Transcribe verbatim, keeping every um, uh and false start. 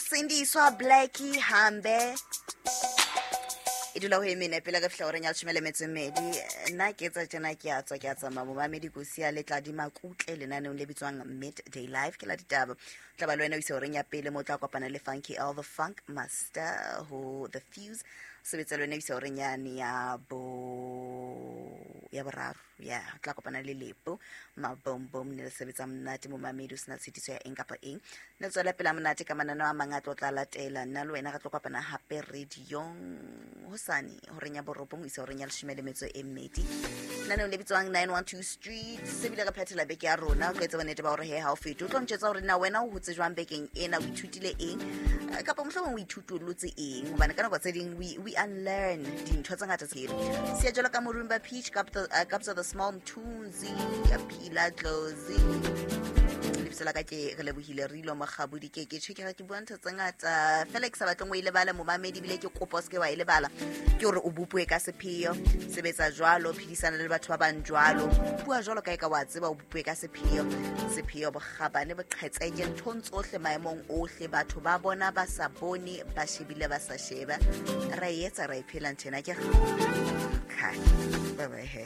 Sindiswa Blackie hambe e dula ho emene pele re fihla horeng ya leshome le metso e mmedi. Nna ke etsa tjena, ke a tswa, ke a tsamaya, momamedi kosi le tla di makutle lenaneong le bitswang Midday Live, ke la ditaba. Tla ba le wena o isa horeng ya pele, mo tla kopana le Funky L the Funk Master ho The Fuse. Sebetsa le wena o isa horeng yane ya bo ya boraro, ya tla kopana le Lepo Mabombom, ne le sebetsa monate, momamedi, o sena tshitiso ya eng kapa eng. Ne tswela pela monate ka mananeo a mang a tlo tla latela. Nna le wena re tlo kopana hape radiong hosane horeng ya borobong ho isa horeng ya leshome le metso e mmedi, lenaneong le bitswang nine one two Street. Sebile re phethela beke ya rona. O tlo etsa bonnete ba hore he ha o fete o tlo ntjwetsa hore na wena o hotse jwang bekeng ena, o ithutile eng, Eh, kapa mohlomong o ithutolotse eng, hobane ka nako tse ding we, we unlearn dintho tse ngata tseno. Siya jwalo ka Morumba Peach, Kapta uh, Kapsa the Small, Mthunzi Phila Dlozi. Lebitso la ka ke re lebohile Rilo Mokgabodi. Ke ke tjho ke re ke bua ntho tse ngata fela ke sa batleng o e lebala, momamedi, ebile ke kopa o seke wa e lebala, ke hore o bopuwe ka sepheo. Sebetsa jwalo, phedisana le batho ba bang jwalo, bua jwalo ka e ka wa tseba o bopuwe ka sepheo. Sepheo, bokgabane, boqhetseke nthong tsohle, maemong ohle, batho ba bona ba sa bone, ba shebile ba sa sheba. Ra e etsa, ra e phela nthena ke okay. Bye bye he.